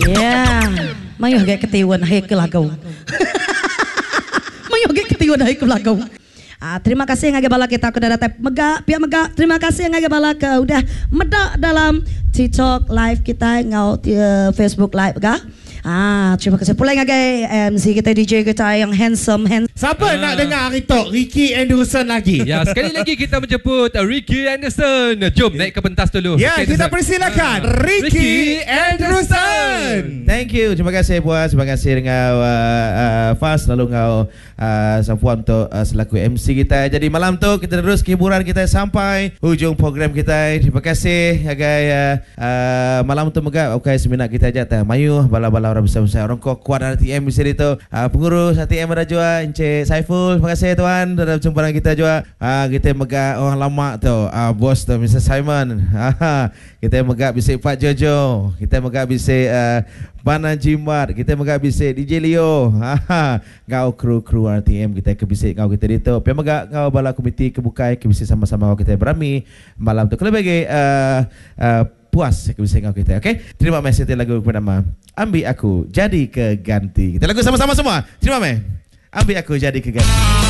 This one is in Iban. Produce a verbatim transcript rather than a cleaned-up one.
Ya. Mayuh gak ketiwan hai ke lagu. Mayuh gak ketiwan hai ke lagu. Ah, terima kasih ngagai bala kita ke udah datai mega pia mega terima kasih ngagai bala ke udah meda dalam TikTok live kita ngau uh, Facebook live ga. Ah, terima kasih pula ngagai M C kita D J kita yang handsome handsome. Siapa nak dengar hari tu Ricky Anderson lagi? Ya, sekali lagi kita menjemput Ricky Anderson. Jom naik ke pentas dulu. Ya, Ricky kita Anderson. persilakan Ricky, Ricky Anderson. Thank you. Terima kasih Puan. Terima kasih dengan uh, uh, Fas lalu dengan uh, Safuan untuk uh, selaku M C kita. Jadi malam tu kita terus hiburan kita sampai hujung program kita. Terima kasih agai uh, uh, malam tu megak okey seminat kita aja teh mayu bala-bala orang besar-besar orang kuat kuat R T M di sini tu. Uh, pengurus R T M ada jua Encik Saiful. Terima kasih tuan dalam jumpa dengan kita jua. Uh, kita megak orang lama tu uh, bos tu Mister Simon. Uh, kita megak bisik Pak Jojo. Kita megak bisik uh, Bana Jimat, kita megak bisik D J Leo. Ha, ngau kru-kru R T M kita ke bisik ngau kita ditu. Pia megak ngau bala komiti kebukai ke bisik sama-sama ngau kita berami malam tu. Kalau bagi uh, uh, puas ke bisik ngau kita, okey? Terima kasih lagu bernama Ambil Aku Jadi Keganti. Kita lagu sama-sama semua. Terima meh. Ambil Aku Jadi Keganti.